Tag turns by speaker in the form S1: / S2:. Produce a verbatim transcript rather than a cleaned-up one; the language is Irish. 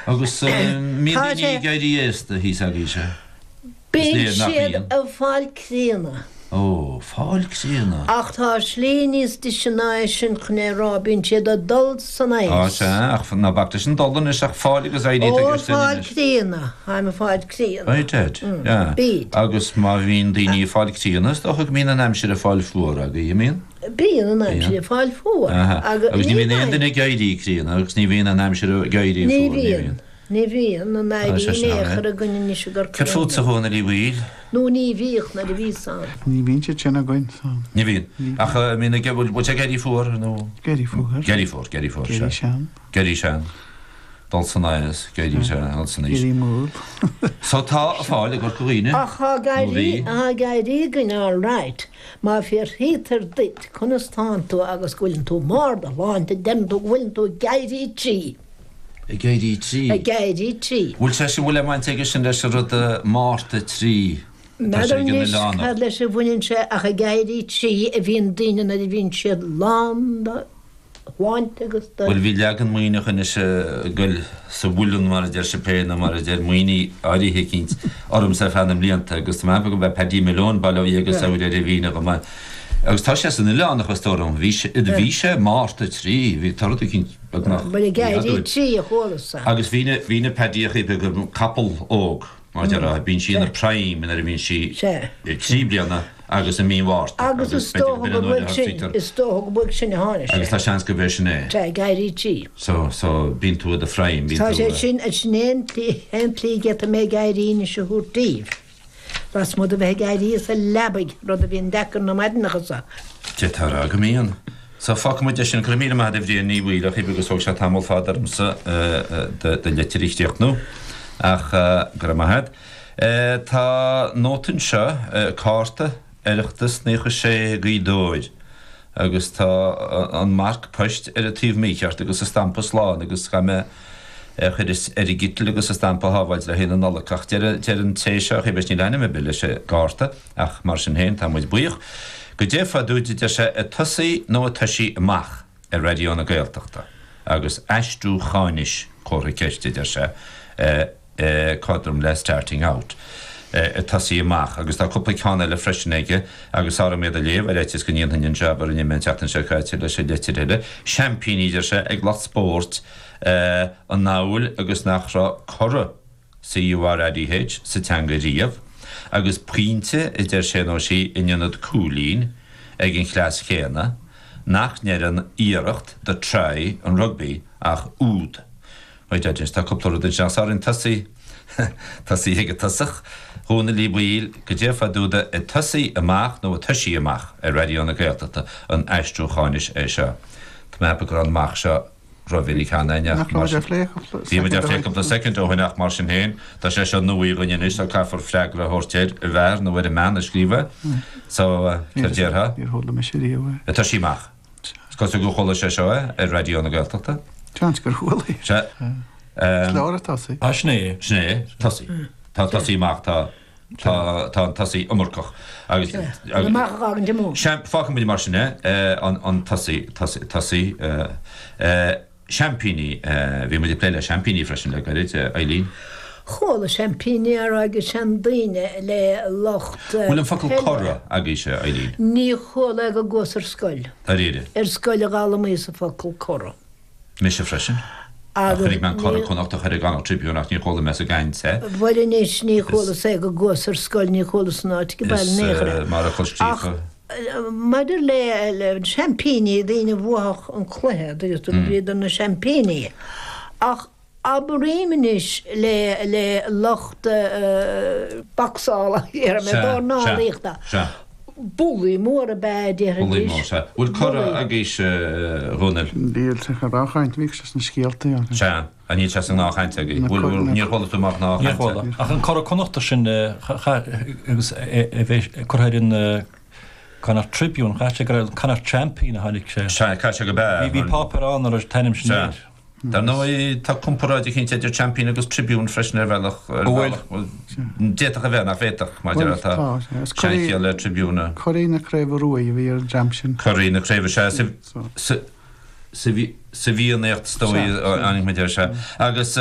S1: Agus mbíonn
S2: Tá
S1: daoine
S2: sé-
S1: ag éirí aosta thíos agaibhse?
S2: Bíonn
S1: Is léir nach
S2: siad
S1: mbíonn.
S2: ag fáil críonna.
S1: Ó, fáil críonna.
S2: Ach tá slí níos deise ná é sin chun é a rá, bíonn siad ag dul san
S1: Á
S2: aos.
S1: sea, ach ná bac leis an dul anois ach fáil agus éirí
S2: Ó,
S1: agus
S2: fáil críonna, táim ag fáil críonna.
S1: Right, Ed, yeah.
S2: Bíd.
S1: Agus má bhíonn daoine ag fáil críonna, is dócha go mbíonn an aimsir ag fáil fuar agaibh, an mbíonn?
S2: Bíonn an aimsir ag fáil fuar.
S1: Aha. Agus ní bhíonn aon
S2: bhíonn
S1: duine ag éirí críonna agus ní bhíonn an aimsir ag éirí
S2: Ní
S1: fuar, ní
S2: bhíonn.
S1: bhíonn.
S2: Ní bhíonn an
S1: Tá
S2: éirí
S1: sé sin ann,
S2: néchar
S1: eh?
S2: a gcoinne ní gur
S1: Céard fútsa a Dhónaill Uí Bhaoill?
S2: Nó ní bhíodh nuair a bhíos ann.
S3: Ní bhíonn siad sin againn so.
S1: Ní bhíonn. Ach uh, mbíonn ag bhfuil bhfuil sé ag éirí fuar nó
S3: Ag éirí fuar.
S1: Ag éirí fuar, ag éirí fuar,
S3: Ag éirí
S1: sea.
S3: sean.
S1: Ag éirí sean. Dul san aos, ag éirí sean, dul san aois.
S3: Ag éirí mall.
S1: So tá a fáil i gCorca Dhuibhne.
S2: Ach tá
S1: Nó
S2: ag éirí
S1: bhí.
S2: tá ag éirí againn all right. Má fiafraítear díot conas tánn tú agus go bhfuileann tú mar do shláinte deireann tú go bhfuileann tú ag éirí trí.
S1: Ag éirí trí.
S2: Ag éirí trí.
S1: Bhfuil sé sin bhfuil le baint aige sin leis an rud uh, Márta trí. Tá sé
S2: N'fheadar
S1: ag an
S2: anois
S1: oileánach.
S2: cad leis a bhaineann sé ach ag éirí trí a bhíonn daoine nuair a bhíonn siad lán de shláinte agus de
S1: Bhuel bhí leagan Muimhneach anois ag goil sa mhuileann mar a deir sé pé nó mar a deir Muimhnigh áirithe eicínt ormsa ar feadh na mblianta agus tá mé go bheith Paddy Malone bail ó Dhia agus
S2: Yeah.
S1: ar a bhíine go maith. Agus tá sé san oileánach is dóigh liom, bhí sé bhí sé Márta trí, bhí toradh eicínt beagnach
S2: Bhuel ag éirí
S1: adúil.
S2: trí a chuala-sa.
S1: Agus bhí na bhí na Paddychaí go capall óg mar deir bíonn sí ina prime nuair a bhíonn sí
S2: Sea.
S1: trí bliana agus i mí Mhárta.
S2: Agus is dócha go bhfuil sin is dócha go bhfuil sin a tháinig
S1: Agus
S2: sé.
S1: tá seans go bhfuil sin é.
S2: Tá ag éirí trí.
S1: So so bíonn tú i do prime bíonn
S2: Tá
S1: tú
S2: sé sin a sin aon aon tslí get mé ag éirí na se thuair díobh. Lasmuigh de bheith ag éirí as an leabaidh rud a bhíonn deacair na maidineacha sa.
S1: Té tá go mbíonn. So fágfaidh muid sin go raibh míle maith agat a Bhriain Ní Bhaoill ach agus thóg sé tamall fada ormsa do litir a chríochnú ach go raibh maith agat. Tá nóta anseo cárta Oireachtas naocha sé Gaoth Dobhair agus tá an marc poist ar an taobh mícheart agus a stampa slán agus ga me chur ar i gcitil agus a stampa hábháil le héana nolach deir an té seo bes ní lena bi leis sé gárta ach mar sin féin tá muid buíoch. Goidé fá dtaobh de sé ag tosaí nó ag toisí amach ar Raidió na Gaeltachta agus aistriúcháinis comhartha ceiste deir sé cothrom le starting out. Ag tosaí amach agus tá cúpla ceann eile freisin aige agus sara méad a léamh ar fhaitíos go ndéanfainn an jab a rinne mé an tseachtain seo caite leis an litir eile. Seaimpíní deir sé ag lucht spóirt an amhail agus nach raibh curadh C U R A D H sa teanga riamh, agus pointe a deir sé nó sí in ionad cúilín ag an chleas chéanna, nach ndeireann iarracht the try an rugby ach úd. Right, tá cúpla rud anseo sar an tosaí tosaí ag tosach, Dhónaill Uí Bhaoill goidé fá dtaobh ag tosaí amach nó ag toisí amach ar Raidió na Gaeltachta an aistriúcháinis é seo. Tá mé go an amach seo roimh
S3: Nach raibh phlé
S1: Bhí muid á phlé cúpla soicind ó shin ach mar sin féin, tá sé seo nua dhúinn anois tá caithfear freagra a thabhairt air a bhfear nó ar an mbean a scríobh so céard déarfá?
S3: Níor chuala mise riamh é.
S1: Ag toisí amach. Is cosúil gur chuala sé seo é ar Raidió na Gaeltachta.
S3: Seans gur chuala.
S1: Se.
S3: Leor tosaí.
S4: Ah, sin é.
S1: Sin é, tosaí. Tá tosaí amach tá tá tá an tosaí iomarcach agus
S2: Amach an de
S1: Fágfaidh muid mar sin é an an tosaí tosaí seaimpíní bhí muid ag plé le seaimpíní freisin le gairid Eileen.
S2: Chuala seaimpíní ar agus seandaoine le lucht
S1: Bhfuil an focal curadh agaibhse Eileen.
S2: Ní chuala go gcuas ar scoil.
S1: Dáiríre.
S2: Ar scoil a d'fhoghlaimíos an focal curadh.
S1: Mise freisin. Chonaic mé an Curadh Connacht a chuir i gConnacht Tribune ach ní chuala mé sa gcaint é.
S2: Bhuel anois ní chuala sé go gcuas ar scoil ní chuala san áit go bail néchra.
S1: Mar a chul scríofa.
S2: Maidir le le seaimpíní daoine bhuach an cluiche agus tú bhíodar na seaimpíní. Ach abraím anois le le lucht bocsála ar mé dornálaíochta. Bullaí móra b'fhéidir
S1: Bullaí mór sea. Bhfuil curadh agaibhse Dhónaill?
S3: Níl sa ghnáthchaint bhíodh sé sna scéalta.
S1: Sea, a níl sé sa ngnáthchaint agaibh. Bhfuil níor chuala tú mar
S4: Níor
S1: gnáthchaint?
S4: chuala. Ach an Curadh Connachta sin agus a bheith curtha ar an Connacht Tribune, chaith sé go raibh Connacht Champion a tháinig sé.
S1: Sea, chaith sé go bea.
S4: Bhí bhí páipéar ann a raibh t-ainm sin
S1: Sea.
S4: air.
S1: Dar ndóigh tá comparáid eicínt idir Champion agus Tribune freisin ar bhealach ar
S4: Bhfuil?
S1: bhealach d'fhéadfadh a bheith nach bhféadfadh maidir
S3: Bhuel,
S1: tá
S3: tá, is curaidh-
S1: seanchiall le Tribune.
S3: Curaidh na Craoibhe Ruaidh a bhí ar an dream sin.
S1: Curaidh na Craoibhe sea sa
S3: So.
S1: sa sa bhí sa bhFiannaíocht is dóigh
S3: Sea,
S1: anímid ar se. Agus